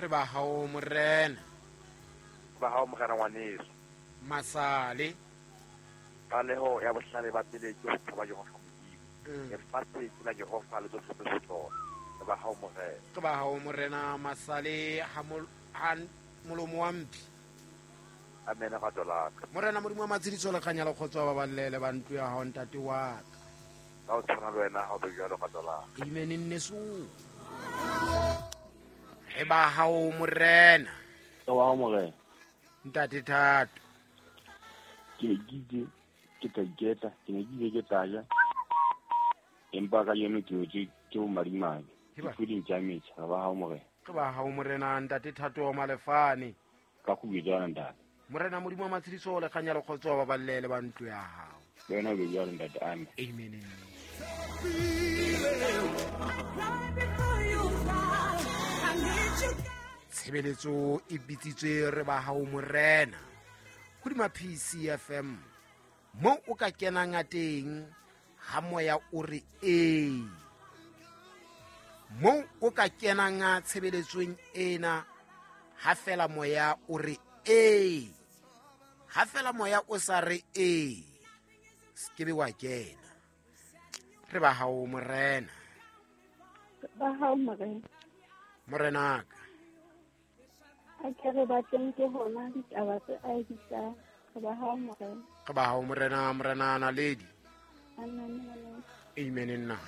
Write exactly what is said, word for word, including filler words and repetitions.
Re ba hao morena. Ba hao morena ngwaneso. Masale. Paleho ya bohlale ba pele ke ho tshaba Jehova Modimo. Lefatshe ke la Jehova le tsohle tse ho tsona. Re ba hao morena. Re ba hao morena Masale ha molomo wa mphi. Amen rato la ka. Morena Modimo wa matshediso le kganya le kgotso ba ballele ba ntlo ya hao ntate wa ka. Ka o tshwana le wena ha o be jwalo rato la ka. Amen nneso. Re ba hao morena. Re ba hao morena. Ntate Thato. Ke ne ke itse ke tla iketla, ke ne ke itse ke tla ja. Empa kajeno ke wetswe ke bomadimabe. Ke pudi ntja metjha, re ba hao morena. Re ba hao morena ntate Thato wa Malefane. Ka go bitsana ntate. Morena Modimo wa matshediso le kganya le kgotso ba ballele ba ntlo ya hao. Le wena o be jwalo ntate, amen. Amen. Tshebeletso e bitsitswe re ba hao morena. Hodima P C F M mo o ka kenang teng ha moya o re ee. Mo o ka kenang tshebeletsong ena ha fela moya o re ee. Ha fela moya o sa re ee, se ke be wa kena. Re ba hao morena. Ba hao morena. Morenaka. A ke re batleng ke hona ditaba tse a di tla. Re ba hao morena. Re ba hao morena, morena Naledi. Amen. Amen nna.